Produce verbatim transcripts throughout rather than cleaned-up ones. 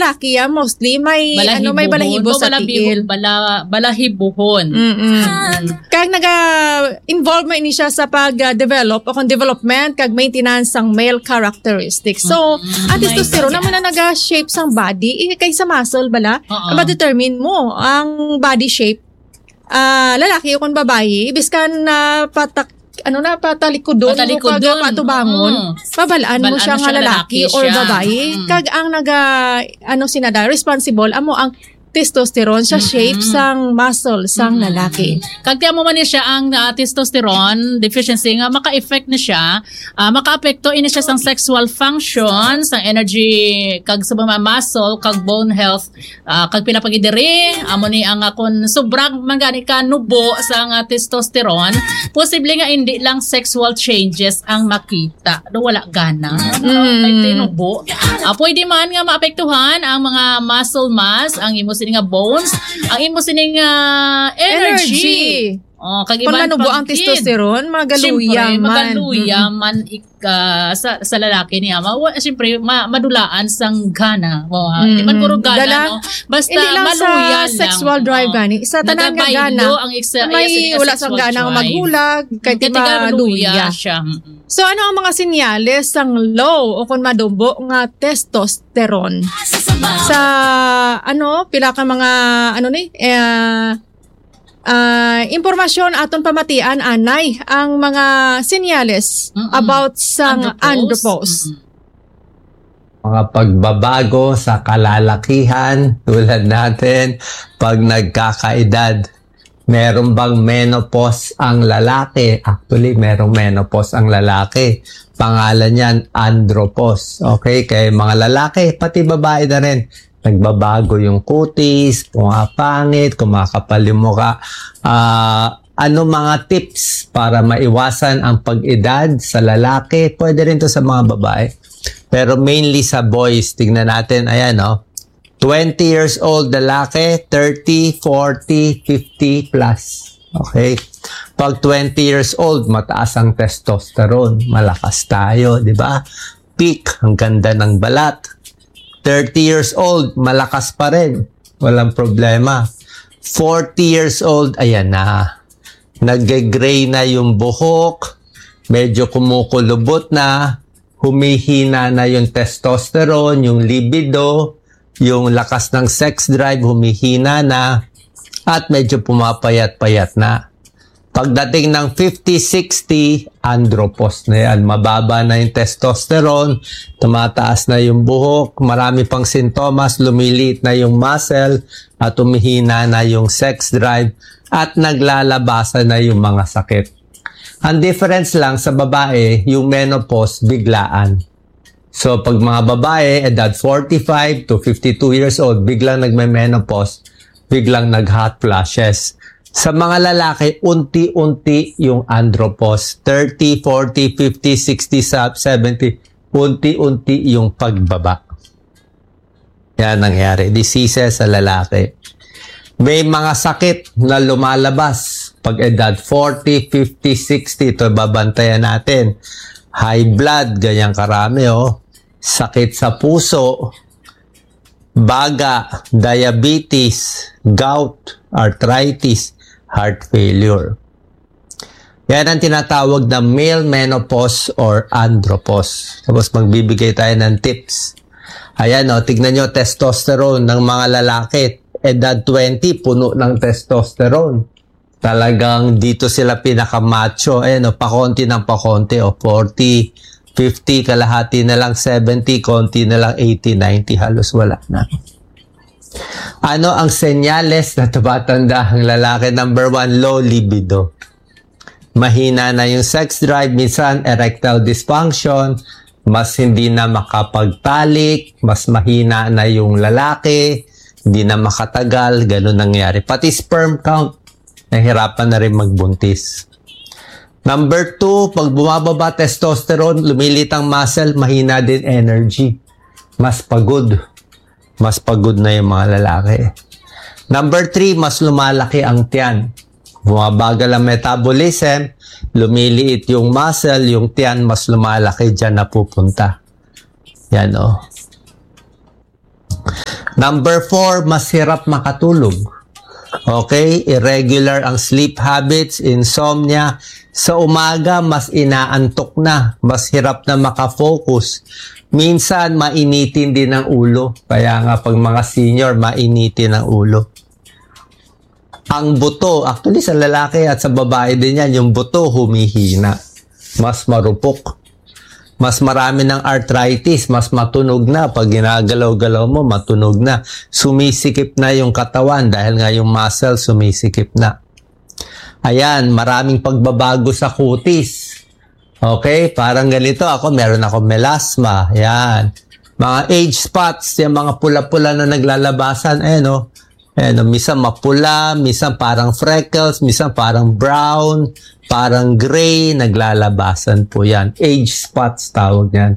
lalaki, ah, mostly may, ano, may balahibo sa tiil. Balahibo-, bala-, balahibuhon. Mm-mm. Kag naga-involve man ini siya sa pag-develop o kung development kag maintenance sang male characteristics. So, ang testosterone amo na naga-shape sang body, eh, kay sa muscle bala, madetermine mo ang body shape. Ah, lalaki o kung babayi, biskan na patak-, ano na, patalikodon mo kag patubangon, mabalaan mo siya nga lalaki or babayi. Kag ang naga, ano, sinada, responsible, amo ang testosterone sa shape sang muscle sang lalaki. Kag ti amo man ni siya ang, ah, testosterone deficiency nga maka-effect ni siya, ah, makaapekto ini siya sang sexual function, sang energy, kag sa mga muscle, kag bone health, ah, kag pila pa gid diri, amo ni ang, ah, kun sobra man gani ka nubo sa nga testosterone, posible nga hindi lang sexual changes ang makita. Do wala gana. Mm. May tinubo. Ah, pwede man nga maapektuhan ang mga muscle mass, ang imo sini nga bones, ang imo sini nga energy. Energy. Oh, kag iban pa gid. Pag nanubo ang testosterone, magaluya man. Siyempre, magaluya man ik-, ah, sa, sa lalaki ni ama. Wa, siyempre, ma-, madulaan sang gana. Oh, ah, di man puro gana, no? Basta maluya lang. Hindi lang sa sexual drive gani. Sa tanan nga gana. Nagabaylo ang ex-, may wala sang gana maghulag, kay ti maluya siya. Mm-mm. So, ano ang mga sinyales sang low o kung manubo nga testosterone? Sa, ano, pila ka mga, ano ni, eh, ah, impormasyon aton pamatian, anay, ang mga sinyales about sa andropause. Mga pagbabago sa kalalakihan, tulad natin, pag nagkakaedad. Meron bang menopause ang lalaki? Actually, merong menopause ang lalaki. Pangalan niyan, andropause. Okay? Kaya mga lalaki, pati babae na rin, nagbabago yung kutis, pumapangit, kumakapal yung mukha. Ah, ano mga tips para maiwasan ang pag-edad sa lalaki? Pwede rin to sa mga babae. Pero mainly sa boys, tingnan natin, ayan, no? Twenty years old lalaki, thirty, forty, fifty plus. Okay? Pag twenty years old, mataas ang testosterone, malakas tayo, di ba? Peak, ang ganda ng balat. Thirty years old, malakas pa rin. Walang problema. Forty years old, ayan na. Nagge-gray na yung buhok, medyo kumukulubot na, humihina na yung testosterone, yung libido, yung lakas ng sex drive, humihina na, at medyo pumapayat-payat na. Pagdating ng fifty, sixty, andropause na yan. Mababa na yung testosterone, tumataas na yung buhok, marami pang sintomas, lumiliit na yung muscle, at humihina na yung sex drive, at naglalabasan na yung mga sakit. Ang difference lang sa babae, yung menopause, biglaan. So, pag mga babae, edad forty-five to fifty-two years old, biglang nagme-menopause, biglang nag-hot flashes. Sa mga lalaki, unti-unti yung andropause. Thirty, forty, fifty, sixty, sa-, seventy, unti-unti yung pagbaba. Yan nangyari. Diseases sa lalaki. May mga sakit na lumalabas pag edad forty, fifty, sixty. Ito, babantayan natin. High blood, ganyan karami, oh. Sakit sa puso, baga, diabetes, gout, arthritis, heart failure. Yan ang tinatawag na male menopause or andropause. Tapos magbibigay tayo ng tips. Ayan, oh, tignan nyo, testosterone ng mga lalaki. Edad twenty, puno ng testosterone. Talagang dito sila pinakamacho. Ayan, oh, pakonti ng pakonti, oh, forty, fifty, kalahati na lang, seventy, konti na lang, eighty, ninety, halos wala na. Ano ang senyales na tumatanda ang lalaki? Number one, low libido. Mahina na yung sex drive, minsan erectile dysfunction, mas hindi na makapagtalik, mas mahina na yung lalaki, hindi na makatagal, ganun nangyari. Pati sperm count, nahirapan na rin magbuntis. Number two, pag bumababa testosterone, lumilit ang muscle, mahina din energy. Mas pagod. Mas pagod na yung mga lalaki. Number three, mas lumalaki ang tiyan. Bumabagal ang metabolism, lumiliit yung muscle, yung tiyan mas lumalaki, dyan napupunta. Yan, oh. Number four, mas hirap makatulog. Okay? Irregular ang sleep habits, insomnia. Sa umaga, mas inaantok na. Mas hirap na makafocus. Minsan, mainitin din ang ulo. Kaya nga, pag mga senior, mainitin ang ulo. Ang buto, actually, sa lalaki at sa babae din yan, yung buto humihina. Mas marupok. Mas marami ng arthritis, mas matunog na. Pag ginagalaw-galaw mo, matunog na. Sumisikip na yung katawan dahil nga yung muscle sumisikip na. Ayan, maraming pagbabago sa kutis. Okay, parang ganito ako, meron ako melasma. Yan. Mga age spots, yung mga pula-pula na naglalabasan, eh, no? Eh, no, minsan mapula, minsan parang freckles, minsan parang brown, parang gray, naglalabasan po yan. Age spots tawag yan.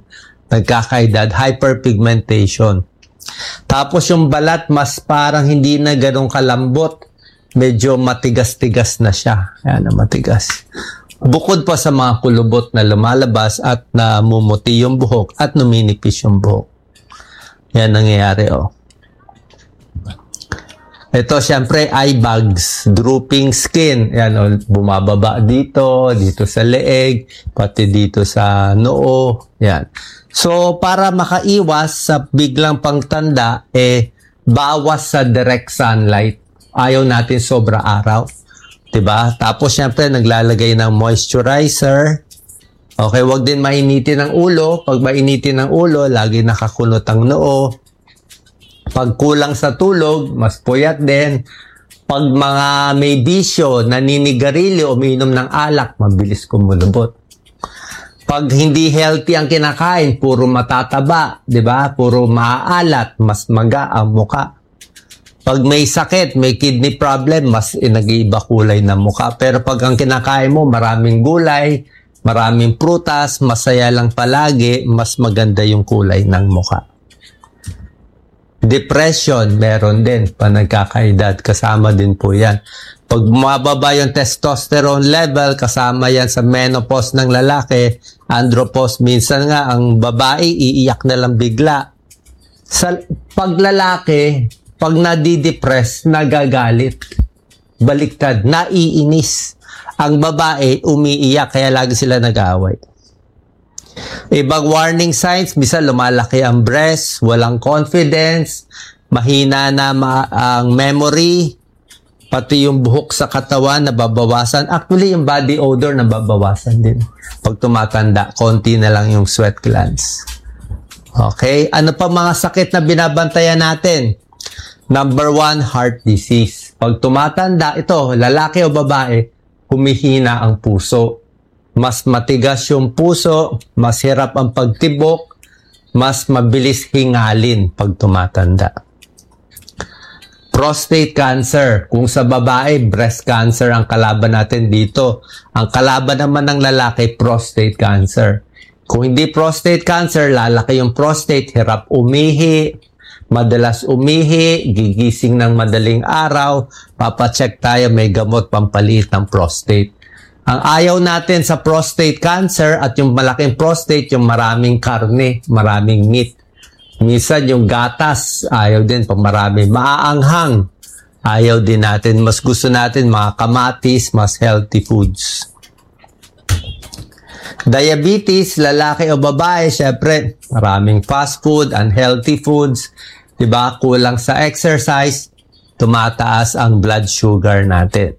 Nagkakaedad, hyperpigmentation. Tapos yung balat, mas parang hindi na ganun kalambot. Medyo matigas-tigas na siya. Ayan, matigas. Bukod pa sa mga kulubot na lumalabas at namumuti yung buhok at numinipis yung buhok. Yan nangyayari, oh. Ito, siyempre, eye bags, drooping skin. Yan, oh, bumababa dito, dito sa leeg, pati dito sa noo. Yan. So, para makaiwas sa biglang pangtanda, eh, bawas sa direct sunlight. Ayaw natin sobra araw. 'Di ba? Tapos, syempre, naglalagay ng moisturizer. Okay, wag din mainitin ang ulo. Pag mainitin ang ulo, lagi nakakunot ang noo. Pag kulang sa tulog, mas puyat din. Pag mga may bisyo, naninigarilyo, umiinom ng alak, mabilis kumulubot. Pag hindi healthy ang kinakain, puro matataba, 'di ba? Puro maaalat, mas maga ang muka. Pag may sakit, may kidney problem, mas nag-iiba kulay ng muka. Pero pag ang kinakain mo, maraming gulay, maraming prutas, masaya lang palagi, mas maganda yung kulay ng muka. Depression, meron din pa nagkakaedad. Kasama din po yan. Pag mababa yung testosterone level, kasama yan sa menopause ng lalaki, andropause. Minsan nga, ang babae, iiyak na lang bigla. Sa paglalaki, pag nadidepress, nagagalit. Baliktad, naiinis. Ang babae, umiiyak, kaya lagi sila nag-aaway. Ibang warning signs, bisa lumalaki ang breast, walang confidence, mahina na ma- ang memory, pati yung buhok sa katawan nababawasan. Actually, yung body odor nababawasan din. Pag tumatanda, konti na lang yung sweat glands. Okay? Ano pa mga sakit na binabantayan natin? Number one, heart disease. Pag tumatanda, ito, lalaki o babae, humihina ang puso. Mas matigas yung puso, mas hirap ang pagtibok, mas mabilis hingalin pag tumatanda. Prostate cancer. Kung sa babae, breast cancer ang kalaban natin dito. Ang kalaban naman ng lalaki, prostate cancer. Kung hindi prostate cancer, lalaki yung prostate, hirap umihi, madalas umihi, gigising ng madaling araw, papacheck tayo, may gamot pampaliit ng prostate. Ang ayaw natin sa prostate cancer at yung malaking prostate, yung maraming karne, maraming meat. Minsan yung gatas, ayaw din pag marami. Maaanghang, ayaw din natin. Mas gusto natin mga kamatis, mas healthy foods. Diabetes, lalaki o babae, syempre, maraming fast food, unhealthy foods, 'di ba? Kulang sa exercise, tumataas ang blood sugar natin.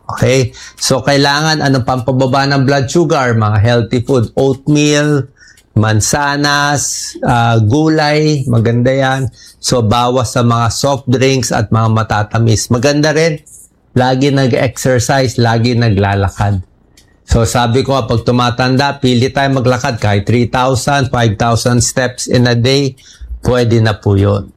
Okay? So, kailangan, anong pampababa ng blood sugar? Mga healthy food, oatmeal, mansanas, ah, gulay, maganda yan. So, bawas sa mga soft drinks at mga matatamis. Maganda rin, lagi nag-exercise, lagi naglalakad. So, sabi ko nga, pag tumatanda, pili tayo maglakad kahit three thousand, five thousand steps in a day, pwede na po yun.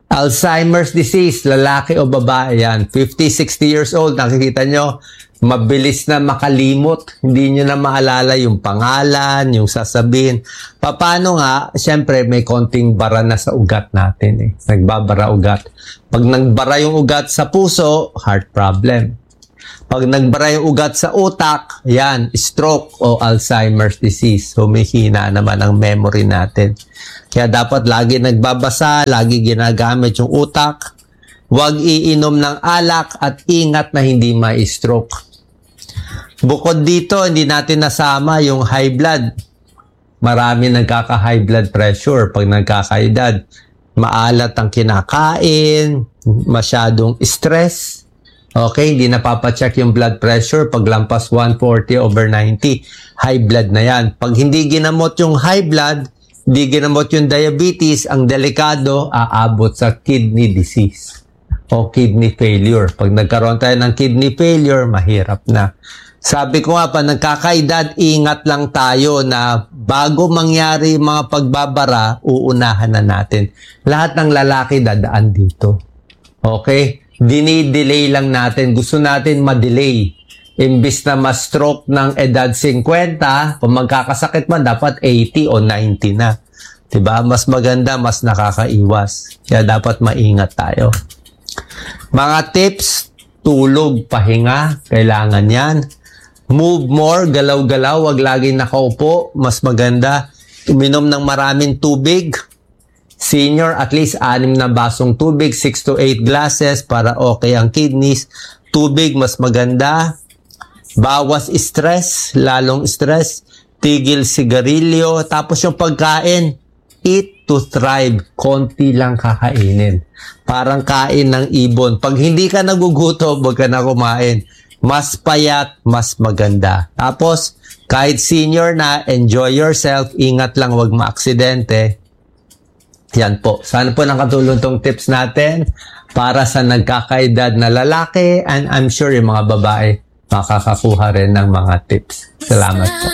Alzheimer's disease, lalaki o babae yan, fifty, sixty years old, nakikita nyo, mabilis na makalimot, hindi nyo na maalala yung pangalan, yung sasabihin. Paano nga? Siyempre, may konting bara na sa ugat natin eh. Nagbabara ugat. Pag nagbara yung ugat sa puso, heart problem. Pag nagbara yung ugat sa utak, yan, stroke o Alzheimer's disease. Humihina naman ang memory natin. Kaya dapat lagi nagbabasa, lagi ginagamit yung utak. Huwag iinom ng alak at ingat na hindi ma-stroke. Bukod dito, hindi natin nasama yung high blood. Marami nagkaka-high blood pressure pag nagkakaedad. Maalat ang kinakain, masyadong stress. Okay, hindi napapacheck yung blood pressure pag lampas one forty over ninety. High blood na yan. Pag hindi ginamot yung high blood, hindi ginamot yung diabetes, ang delikado, aabot sa kidney disease o kidney failure. Pag nagkaroon tayo ng kidney failure, mahirap na. Sabi ko nga pa, nagkakaedad, ingat lang tayo na bago mangyari yung mga pagbabara, uunahan na natin. Lahat ng lalaki dadaan dito. Okay? Dinidelay lang natin. Gusto natin ma-delay. Imbis na ma-stroke ng edad fifty, kung magkakasakit man, dapat eighty o ninety na. Diba? Mas maganda, mas nakakaiwas. Kaya dapat maingat tayo. Mga tips, tulog, pahinga, kailangan yan. Move more, galaw-galaw, wag laging nakaupo. Mas maganda, uminom ng maraming tubig. Senior, at least anim na basong tubig, six to eight glasses para okay ang kidneys. Tubig, mas maganda. Bawas stress, lalong stress. Tigil sigarilyo. Tapos yung pagkain, eat to thrive. Konti lang kakainin. Parang kain ng ibon. Pag hindi ka nagugutom, huwag ka na kumain. Mas payat, mas maganda. Tapos, kahit senior na, enjoy yourself. Ingat lang, huwag maaksidente. Yan po. Sana po nakatulong tong tips natin para sa nagkakaedad na lalaki, and I'm sure yung mga babae makakakuha rin ng mga tips. Salamat po.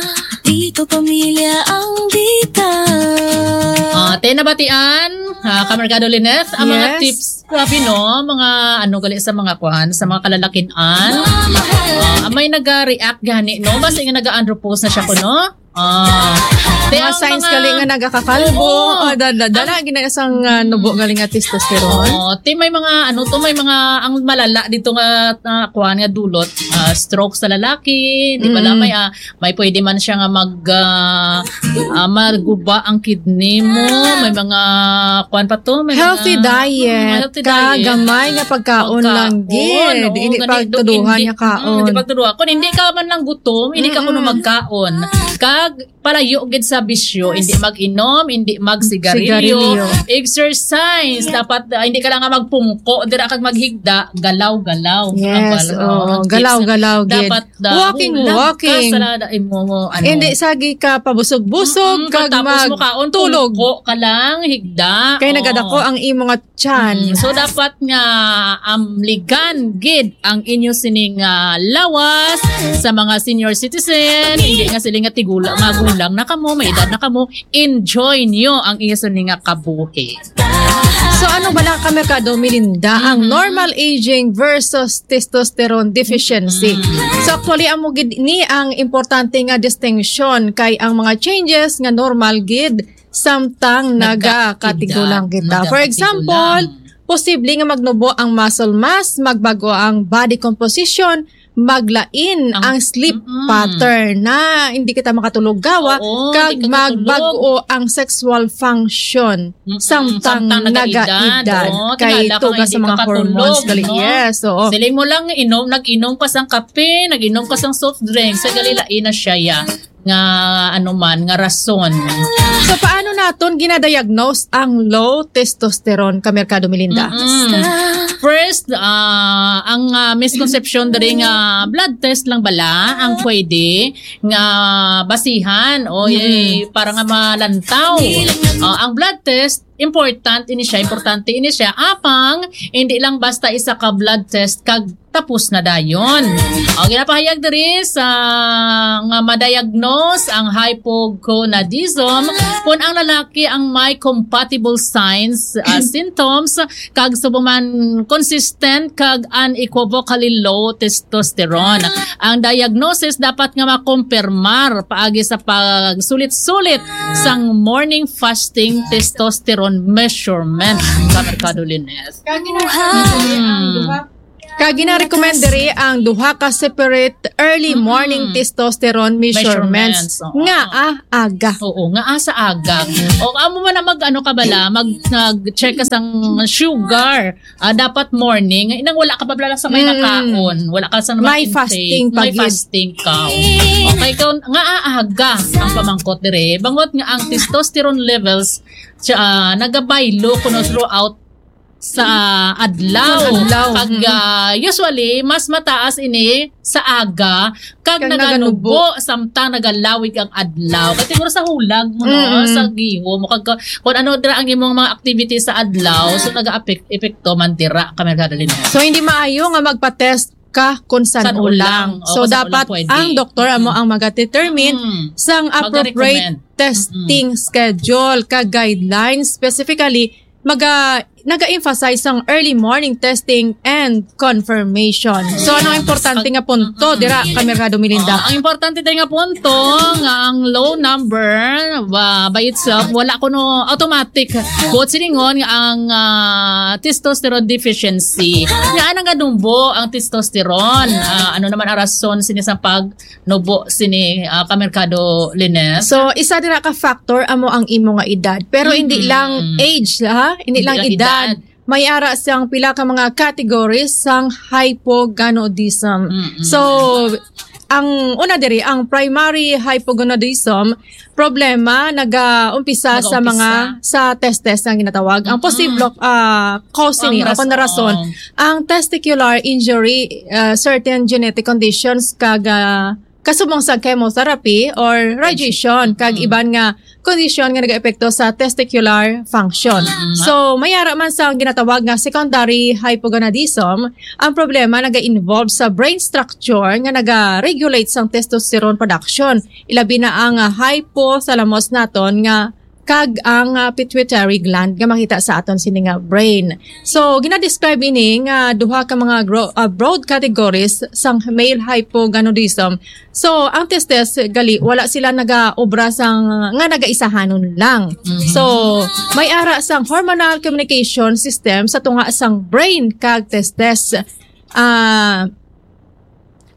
Dito pamilya ang bida. Ah, te nabatian, ah, Kamerkado Lines, ang mga Yes. tips, grabe no, mga ano gali sa mga kwan, sa mga kalalakinan. Ah, may naga-react gani no, basta nga naga-unropose na siya ko no. Ah, te, Mga ang signs mga- gali nga nagakakalbo. Oo. Oh, da, da, dala, gina isang ah, nubo gali nga testosterone. Oo, te may mga ano to, may mga ang malala dito nga uh, kuan nga dulot, ah, stroke sa lalaki, di ba Mm. lang may ah, may pwede man siya nga mag ah, ah, maguba ang kidney mo, may mga kuan pa to, may Healthy mga, diet. Mm, healthy Ka diet. Gamay nga pagkaon lang gid. Oo, Hindi gani, pagtuduhan hindi- niya kaon. Mm, hindi pagtuduhan. Kung hindi ka man lang gutom, hindi ka kuno Mm-mm. magkaon. Kag palayo gid sa bisyo, hindi mag-inom, hindi magsigarilyo, Sigarilyo. Exercise, dapat ah, hindi ka lang nga magpungko, dira kag maghigda, galaw-galaw. Yes, Abal, oo. oh, tips. Galaw-galaw gid. Dapat ah, Walking, hulag walking. Ka sa imo, ano. Hindi sagi ka pabusog-busog Mm-mm, kag pagtapos mo kaon, magtulog. Pungko ka lang, higda. Kay Oo. Nagadako ang imo nga tiyan. Mm, so dapat nga amligan gid ang inyo sining ah, lawas sa mga senior citizen, hindi nga sila nga tigulang, magulang na kamo, may edad na kamo, enjoy nyo ang inyo sining nga kabuhi. So ano bala, Kamerkado Melinda, ang Mhm. normal aging versus testosterone deficiency? Mhm. So actually, amo gid ni ang importante nga distinction, kay ang mga changes nga normal gid samtang Nagka- nagakatigulang kita. For nagkakatigulang. Example, posible nga magnubo ang muscle mass, magbago ang body composition, maglain Ang- ang, sleep Mm-mm. pattern, na hindi kita makatulog gawa, Oo, kag hindi ka katulog. Magbago ang sexual function Mm-mm. samtang, Samtang nagaedad, nagaedad, oo. kay Tingala ka tuga nga sa hindi mga ka hormones katulog, gali. No? Yes, oo. Siling mo lang inom, nag-inom ka sang kape, nag-inom ka sang soft drinks, sa gali lain na siya ya, nga ano man, nga rason. So paano naton ginadiagnose ang low testosterone, Kamerkado Melinda? Mm-mm. First, ah, ang ah, misconception diri nga blood test lang bala ang pwede nga basihan o eh, para nga malantaw. Ah, ang blood test, important ini siya, importante ini siya. Apang hindi lang basta isa ka blood test kag tapos na dayon. O, ginapahayag diri sa nga ma-diagnose ang hypogonadism kung ang lalaki ang may compatible signs, ah, symptoms, kag subong man consistent kag unequivocally low testosterone. Ang diagnosis dapat nga makumpirmar paagi sa pagsulit-sulit sang morning fasting testosterone measurement, Kamerkado Lines. Kag ginabuhat ang duha Kag gina-recommend diri ang duha ka separate early Mm-mm. morning testosterone measurements Measurements, oo. nga, ah, aga. Oo, nga, ah, sa aga. O, amo man na mag, ano ka bala, mag, nag-check ka sang sugar. Ah, dapat morning. Inang wala ka pa bala sa may Mm. nakaon. Wala ka sa May may intake. fasting pa May gid. fasting ka. Okay, kung nga, ah, aga ang pamangkot dire. Bangot nga ang testosterone levels, siya, ah, nagabaylo kuno throughout sa adlaw. Sa adlaw, Kag, mm. ah, usually, mas mataas ini sa aga kag Kag naganubo naganubo. samtang nagalawig ang adlaw. Kay siguro sa hulag mo, no? Mm-mm. Sa gihom. Kag, kung ano dira ang imong mga activities sa adlaw, so nagaapek-, epekto man dira, Kamerkado Lynette. So, hindi maayo nga magpa-test ka kung san San ulang. ulang. O, So, kung san dapat ulang pwede. ang doktor amo Mm. ang mag-determine Mm. sang appropriate Mag-recommend. testing Mm. schedule kag guidelines. Specifically, maga-, naga-emphasize sang early morning testing and confirmation. So, ano ang Yes. importante Pag-, nga punto Mm. dira, Kamerkado Melinda? Ah, ang importante din nga punto nga ang low number, ah, by itself, wala kuno automatic. Buot silingon nga ang, ah, testosterone deficiency. Nga anang ganumbo ang testosterone. Ah, ano naman ang rason sini sa pagnubo sini, ah, Kamerkado Lynette? So, isa dira ka factor amo ang imo nga edad. Pero hindi Mm-hmm. lang age, ha? Hindi Hindi lang lang edad. edad. May ara siyang pila ka mga categories sang hypogonadism. Mm-mm. So, ang una diri, ang primary hypogonadism, problema nagaumpisa sa Nagaumpisa. mga, sa testes nga ginatawag. Ang Mm-mm. posibleng, ah, cause Ang ni, o kung ras-, rason, oo. ang testicular injury, ah, certain genetic conditions kag, ah, kasubong sa chemotherapy or radiation, kag Mm. iban nga kondisyon nga nagaepekto sa testicular function. Mm. So, may ara man sa ginatawag nga secondary hypogonadism, ang problema naga-involve sa brain structure nga naga-regulate sang testosterone production, ilabi na ang, ah, hypothalamus naton nga kag ang, ah, pituitary gland nga makita sa aton sini nga brain. So, gina-describe ini nga duha ka mga gro-, ah, broad categories sang male hypogonadism. So, ang testes gali, wala sila nagaobra sang, nga nagaisahanon lang. Mhm. So, may ara sang hormonal communication system sa tunga sang brain kag testes. Ah,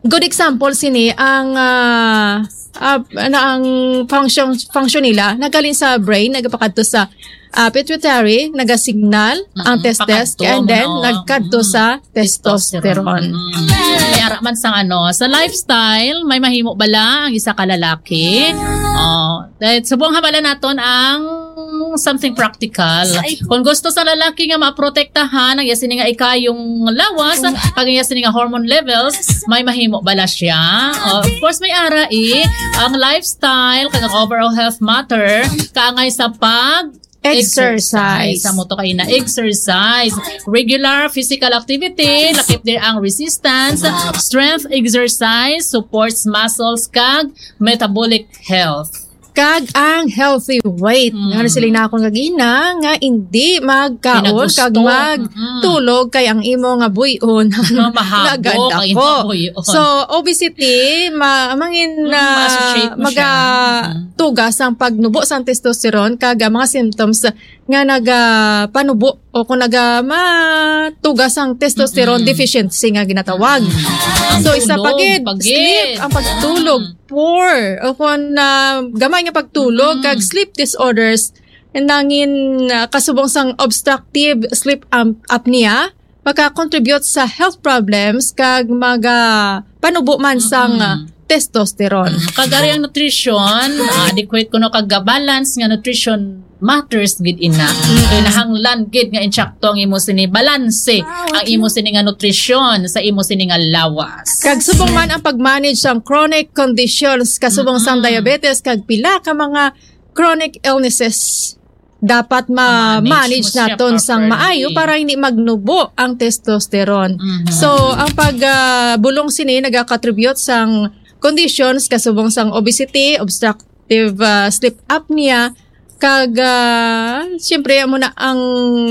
good example sini ang, ah, ah, na ang function, function nila naghalin sa brain, nagapakadto sa, ah, pituitary, nagasignal ang Mm-mm, testes, pakadto, and then no? nagkadto Mm. sa testosterone. Mm. May ara man sang ano, sa lifestyle, may mahimo bala ang isa ka lalaki? Oh, dahil subong hamalan naton ang something practical. Ay. Kung gusto sa lalaki nga maprotektahan ang iya sini nga ikayong lawas, ang iya sini nga hormone levels, may mahimo bala siya? Oh, of course, may ara, eh. Ang lifestyle, kag ang overall health matter, kaangay sa pag Exercise. Exercise. Amo to kay na exercise. Regular physical activity, lakip din ang resistance, strength exercise, supports muscles, kag metabolic health. Kag ang healthy weight. Mm. Nga sila na akong kagina, nga hindi magkaon, Pinagusto. kag mag Mm. tulog kay ang imo nga buy-on Nga mahabo naganda ang ko. imo buy-on. So, obesity, ma-, mangin Mm, na ma-associate mo siya. maga Mm. tugas ang pagnubo sang testosterone kag ang mga symptoms nga nagapanubo o kung naga matugas ang testosterone Mm-mm. deficiency nga ginatawag. Mm. Ang So, isa pa tulog, gid, pagid. sleep, ang pagtulog, Mm. poor, o kung, ah, gamay nga pagtulog, Mm. kag sleep disorders, nangin, ah, kasubong sang obstructive sleep am-, apnea, maka-contribute sa health problems kag maga panubo man sang, Mm-mm. ah, testosterone. Mm, kag ari ang nutrition, ah, adequate kuno kag balance nga nutrition matters gid ina. Mm. So, nahanglan gid nga insakto ang imo sini balanse, ang imo sini nga nutrition sa imo sini nga lawas. Kag subong man ang pag-manage sang chronic conditions, kasubong sang Mm-mm. diabetes kag pila ka mga chronic illnesses. Dapat ma-manage Ma-manage mo siya naton sang properly. maayo para hindi magnubo ang testosterone. Mhm. So, ang pag, ah, bulong sini nagakontribute sang conditions kasubong sang obesity, obstructive, ah, sleep apnea, Kag, ah, siyempre, amo na ang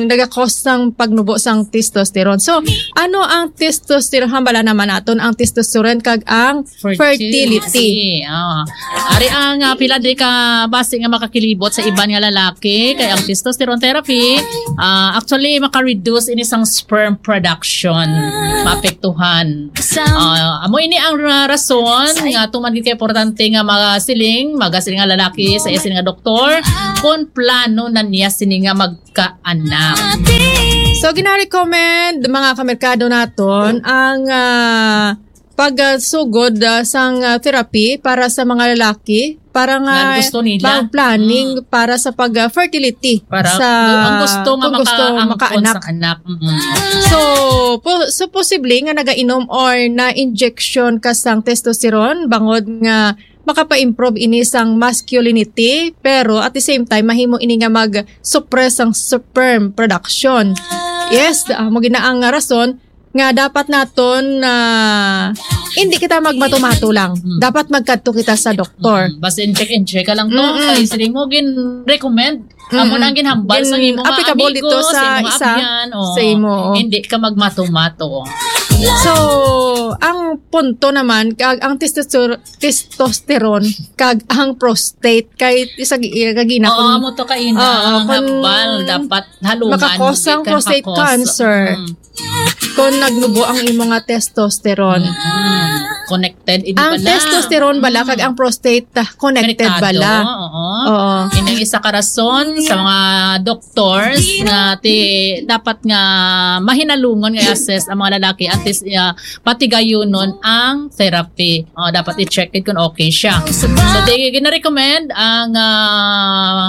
nagakos sang pagnubo sang testosterone. So, ano ang testosterone? Hambala naman naton ang testosterone kag ang fertility. Fertility. Ah. Ari ang, ah, pila di ka basi nga makakilibot sa iban nga lalaki, kay ang testosterone therapy, ah, actually maka-reduce ini sang sperm production, maapektuhan. Ah, amo ini ang ra-, rason nga tuman gid ka importante nga magasiling, magasiling nga lalaki sa iya sini nga doktor kung plano na niya sini nga magkaanak. So, gina-recommend, mga kamerkado naton, ang, ah, pagsugod, ah, sang, ah, therapy para sa mga lalaki, para nga Nga gusto nila. mag-planning Mm. para sa pag, ah, fertility Para sa ang gusto nga kung gusto makaangkon makaanak. sa anak. Mm. So, po, so posible nga nagainom or na-injection ka sang testosterone bangod nga makapa-improve ini sang masculinity, pero at the same time, mahimo ini nga mag-suppress ang sperm production. Yes, amo gid na ang rason nga dapat naton na hindi kita magmato-mato lang. Mm. Dapat magkadto kita sa doktor. Mm, basta in-check, in-check ka lang to. Mm-mm. Kay sila mo gin-recommend. Amo Mm-mm. na ang ginhambal sa Gin-, imong mga applicable amigo, dito sa sa imong isa, abyan, oh. sa imo, oh. Hindi ka magmato-mato. So, ang punto naman, kag ang testoster-, testosterone, kag ang prostate, kay isa gi-, kagina Oo, kung amo to kaina Oo, ang kung hambal. Dapat halungan, makakos hindi ang ka prostate makakos. cancer. Mm. Kung nagnubo ang imo nga testosterone. Mm. Connected, hindi Ang bala? testosterone bala Mm. kag ang prostate, ah, connected Konektado, bala. oo. Oo. Ini ang isa ka rason sa mga doctors nga ti-, dapat nga mahinalungon nga i-assess ang mga lalaki antes, ah, patigayunon ang therapy. Oh, dapat i-check it kung okay siya. So, di gina-recommend ang, ah,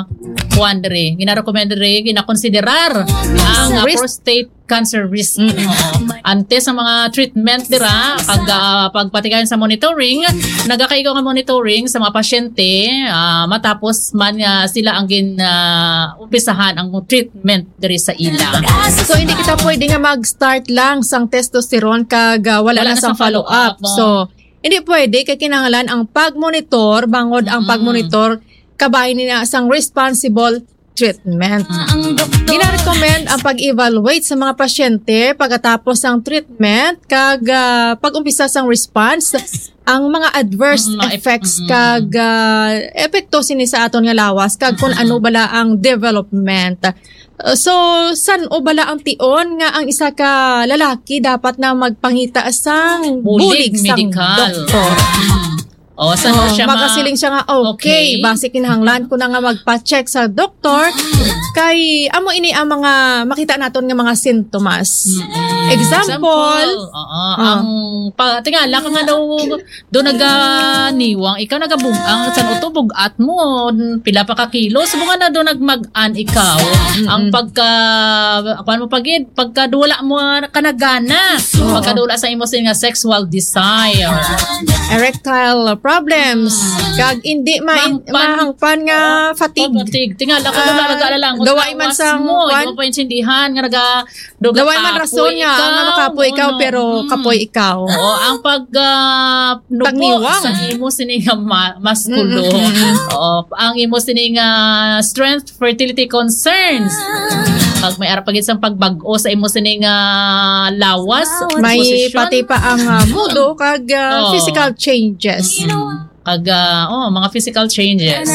kuwan diri. Gina-recommend diri, ginakonsiderar ang, ah, Risk. prostate cancer risk. Mm-mm. Oo. Antes ang mga treatment dira, pag, ah, pagpatigayon sa monitoring, nagakaigo nga monitoring sa mga pasyente, ah, matapos man nga sila ang gin, ah, umpisahan ang treatment diri sa ila. So, hindi kita pwede nga mag-start lang sang testosterone kag, ah, wala Wala na na sang sang follow-up, follow-up. oh. So, hindi pwede kay kinahanglan ang pag-monitor, bangod ang Mm. pag-monitor, kabay nila sang responsible treatment. Ah, ang doktor. Gina-recommend ang pag-evaluate sa mga pasyente pagkatapos sang treatment kag, ah, pag-umpisa sang response, ang mga adverse Mm, mga ep-, effects mm. kag, ah, epekto sini sa aton nga lawas kag kung Mm. ano bala ang development. Uh, so, san-o bala ang tion nga ang isa ka lalaki dapat na magpangita sang Bulig bulig sang medikal. doktor? Mm. Oh, san-o Oh, siya ma- magasiling siya nga, okay, Okay. basi kinahanglan ko na nga magpa-check sa doktor. Mm. Kay, amo ini ang mga makita naton nga mga sintomas. Mm-mm. Example, Example, oo, Ah. ang pa-, tingala ka nga daw, do naganiwang, ikaw nagabug-, ang san-o to, bug-at mo, pila pa ka kilo, subong nga na do nagmag-an ikaw. Mm-mm. Ang pagka, kuwan mo pa gid, pagka wala mo ka nagana, Oo. pagka wala sa imo sin nga sexual desire. Erectile problems. Mm. Kag hindi ma-, Mahangpan. mahangpan nga Oo. fatigue. Fatigue. Tingala ka, Ah, wala, nag-alala. Ang daway man lawas sa mo, kuwan. Hindi mo pa intindihan nga naga-, Duga Daway man kapoy rason nga, ikaw. nga makapoy ikaw, No, pero mm. kapoy ikaw. Oo, ang pag, ah, nubo Pagniwang. sa imo sini nga ma-, maskulo. Mm, mm, mm. Oo, ang imo sini nga strength, fertility concerns. Pag may ara pa gid sang pagbag-o sa imo sini nga lawas, Lawas. May posisyon. pati pa ang, ah, mudo kag, ah, Oo. physical changes. Mm. Kag, ah, oh, mga physical changes.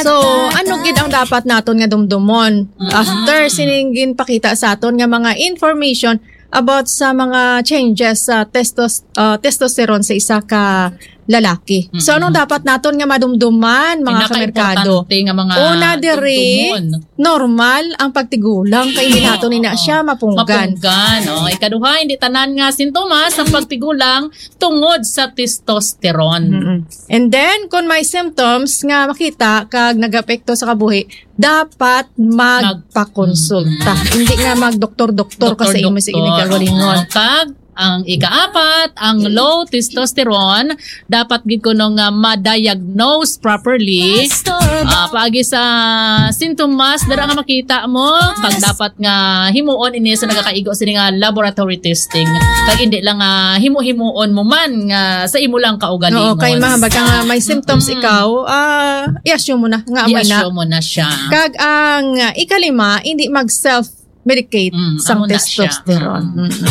So, ano gid ang dapat naton nga dumdumon Mm-mm. after sining ginpakita sa aton nga mga information about sa mga changes sa testos-, ah, testosterone sa isa ka lalaki? So, Mm-mm. anong dapat naton nga madumduman, mga kamerkado? Pinakaimportante nga mga Una diri, dumdumon. normal ang pagtigulang, kay hindi naton ina Oo. siya mapunggan. Mapunggan, oh. Ikaduha, hindi tanan nga sintomas ang pagtigulang tungod sa testosterone. Mm-mm. And then, kung may symptoms nga makita kag nag-apekto sa kabuhi, dapat Mag- magpakonsulta. Mm-mm. Hindi nga magdoktor-doktor ka sa imo sa Doktor-doktor, inig kaugalingon. oo. Kag Ang ikaapat, ang low testosterone, dapat gid kuno nga ma-diagnose properly. Ah, paagi sa sintomas dira nga makita mo, kag dapat nga himuon ini sa nagakaigo sini nga laboratory testing. Kag hindi lang nga himo-himuon mo man nga sa imo lang kaugalingon. Oo, kay mahambal ka nga may symptoms Mm. ikaw, ah, i-assume mo na nga amoy na. I-assume mo na siya. Kag ang, ah, ikalima, hindi mag-self-medicate Mm, sang amo na siya. testosterone. Mm. Mm-mm.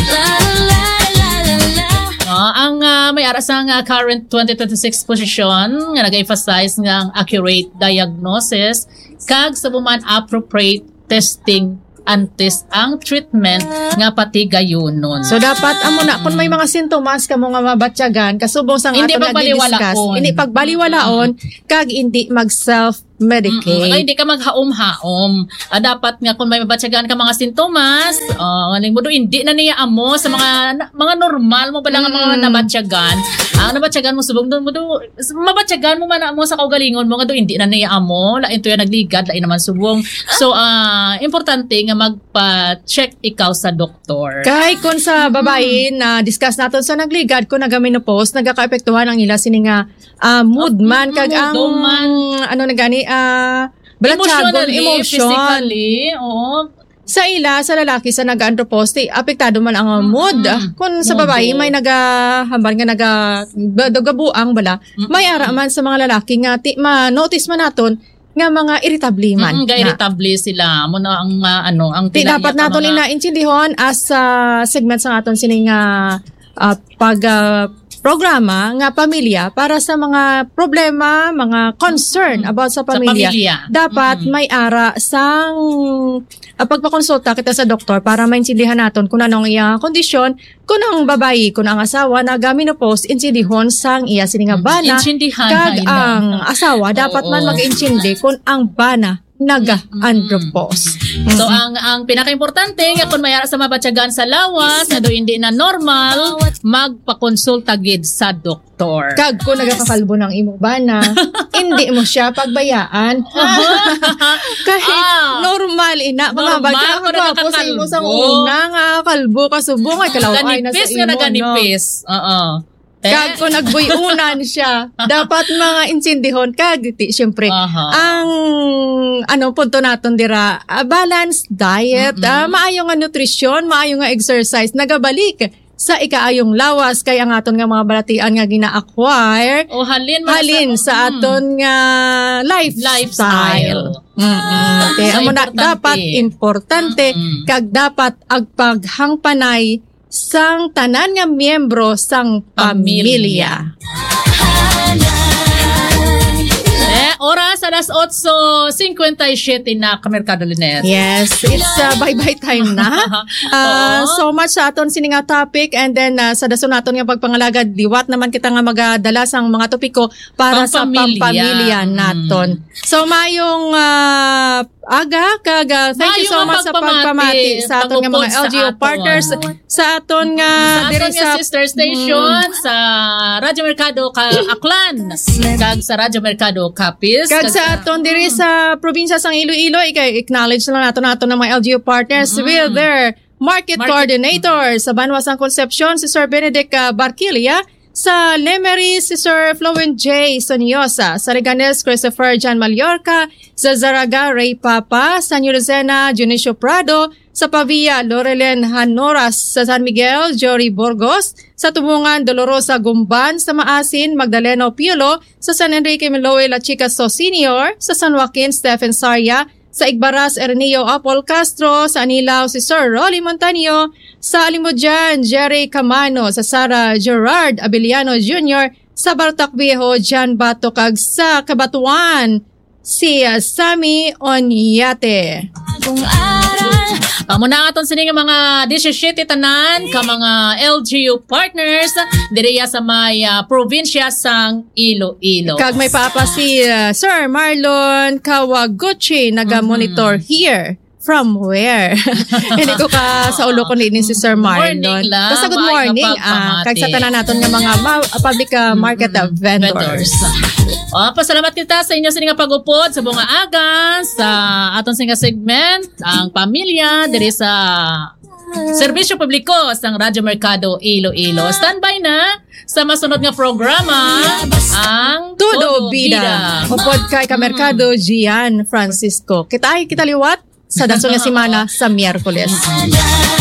Ah, ang, ah, may ara sang, ah, current twenty twenty-six posisyon nga nag-emphasize nga ang accurate diagnosis kag sa buman appropriate testing antes ang treatment nga patigayunon. So, dapat amo na, kung may mga sintomas kamo nga mabatyagan, kasubong sang Hindi aton nga pagbaliwalaon. gidiscuss, hindi pagbaliwalaon, kag hindi mag-self-medicate. Mm-mm. Ay, hindi ka maghaom-haom. Ah, dapat nga kung may mabatyagan ka mga sintomas, ah, aning mo do, hindi na niya amo sa mga, mga normal mo pala nga mga Mm. nabatyagan. Ang nabatyagan mo subong doon mo do, mabatyagan mo man na mo sa kaugalingon mo nga do, hindi na niya amo, lain to yan nagligad, lain naman subong. So, ah, importante nga magpa-check ikaw sa doktor. Kay kung sa babayi, Mm. na discuss naton sa nagligad, kung naga-menopause, nagakaapektuhan ang ila sini nga, ah, mood man, kag Mood ang, man. ano na gani, ah, balatyagon, Emotionally, emotion. physically, oo. Sa ila, sa lalaki, sa nag-andropause, ti-, apektado man ang, ah, Mm, mood. mm. Kung sa Mood. babayi, may naga-, hambal nga naga-, ba-, nagabuang bala, Mm, may mm. ara man sa mga lalaki nga ti-, ma-notice man naton nga mga irritable man Mm, na. ga-irritable sila. Amo na ang, ah, ano, ang Ti dapat pinaiyak ang naton mga inaintindihon as, ah, segment sa aton sining, ah, ah, pag, ah, programa nga pamilya para sa mga problema, mga concern Mm. about sa Sa pamilya. pamilya. Dapat Mm. may ara sang, ah, pagpakonsulta kita sa doktor para maintindihan naton kung ano ang iyang kondisyon, kung ang babayi, kung ang asawa naga-menopause, intindihon sang iya sini nga Mm. bana, Intindihan, kag hain na. ang asawa dapat man Oo. mag-intindi kung ang bana naga-andropause. So, Mm-mm. ang, ang pinakaimportante nga kung may ara sa mabatyagan sa lawas, nga do hindi na normal, magpakonsulta gid sa doktor. Kag kung nagakakalbo ng imong bana, hindi mo siya pagbayaan. Aha. Kay Ah. normal, ina. Mga Normal bata, kung ang gwapo sa imo sang nagakakalbo. una nga kalbo ka subong, ay, kalaway na sa Kanipis nga imo, no? naganipis. Oo. Kag Eh? kung nagbuy-unan siya, dapat mga intindihon. Kag, ti, siyempre, Aha. ang, ano, punto naton dira, ah, balanced diet, Mm-mm. ah, maayo nga nutrisyon, maayo nga exercise, nagabalik sa ikaayong lawas, kay ang aton nga mga balatian nga gina-acquire, O, halin, mga halin sa, sa mm. aton nga lifestyle. Lifestyle. Mm-mm. Kaya So, amo na, importante. dapat importante, Mm-mm. kag dapat ang paghangpanay sang tanan nga miyembro sang Pamilya. pamilya. Eh, oras, alas otso cincuenta y siete na, Kamerkado Lynette. Yes, it's, uh, bye-bye time na. Uh, Oo. so much sa aton sini nga topic, and then, uh, sa dason naton nga pagpangalagad, liwat naman kita nga magadala sang mga topiko para sa Pampamilya. pampamilya Mm. naton. So, mayong, uh, aga, kag, uh, thank you Mayo so nga much sa pagpamati, pagpamati sa aton nga mga pag-upod sa L G U aton. partners, sa aton nga Sa aton diri nga sa sister station, Mm. sa Radyo Merkado Ka-, Aklan, kag sa Radyo Merkado Capiz, Kag kag sa sa aton diri Mm. sa probinsya sang Iloilo, i-acknowledge lang nato nato ng mga L G U partners Mm. with their market Market. coordinator sa banwa sang Concepcion, si Sir Benedict, ah, Barquilla, sa Lemery, si Sir Flowin J. Soniosa, sa Leganes, Christopher John Mallorca, sa Zarraga, Ray Papa, sa New Lucena, Dionisio Prado, sa Pavia, Loreline Hanoras, sa San Miguel, Jory Burgos, sa Tumungan, Dolorosa Gumban, sa Maasin, Magdaleno Piolo, sa San Enrique, Miloy Lachica So Senior, sa San Joaquin, Stephen Saria, sa Igbaras, Ernio Apol Castro, sa Anilao, si Sir Rolly Montaño, sa Alimodian, Jerry Camano, sa Sara, Gerard Abellano Junior, sa Bartac Viejo, Jan Bato, kag sa Cabatuan, si, uh, Sammy Onyate. Kung aral. Amo na aton sini nga mga disisyete tanan ka mga L G U partners diriya sa may, ah, probinsya sang Iloilo. Kag may papa si, uh, Sir Marlon Kawaguchi, naga-monitor Mhm. here. From where? Hindi ko ka sa ulo ko ni, ni si Sir Marlon. Morning lang. Basta good Maayong morning, ah, pagpamati. kag sa tanan naton nga mga ma-, public, ah, market, ah, Mm-mm. vendors. Vendors. Oh, pasalamat kita sa inyo sini nga pag-upod sa bunga aga sa aton sini nga segment, ang pamilya diri sa Serbisyo Publiko sang Radyo Merkado Iloilo. Standby na sa masunod nga programa, ang Todo Bida. Upod kay Kamerkado Gian Francisco. Kita kita liwat sa dason nga semana sa Miyerkules.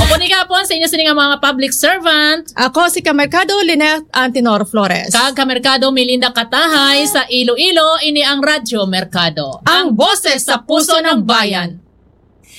Upod ni gapon sa inyo sini nga mga public servant. Ako si Kamerkado Lynette Antenor Flores. Kag Kamerkado Melinda Katahay sa Iloilo, ini ang Radyo Merkado. Ang boses sa puso ng bayan.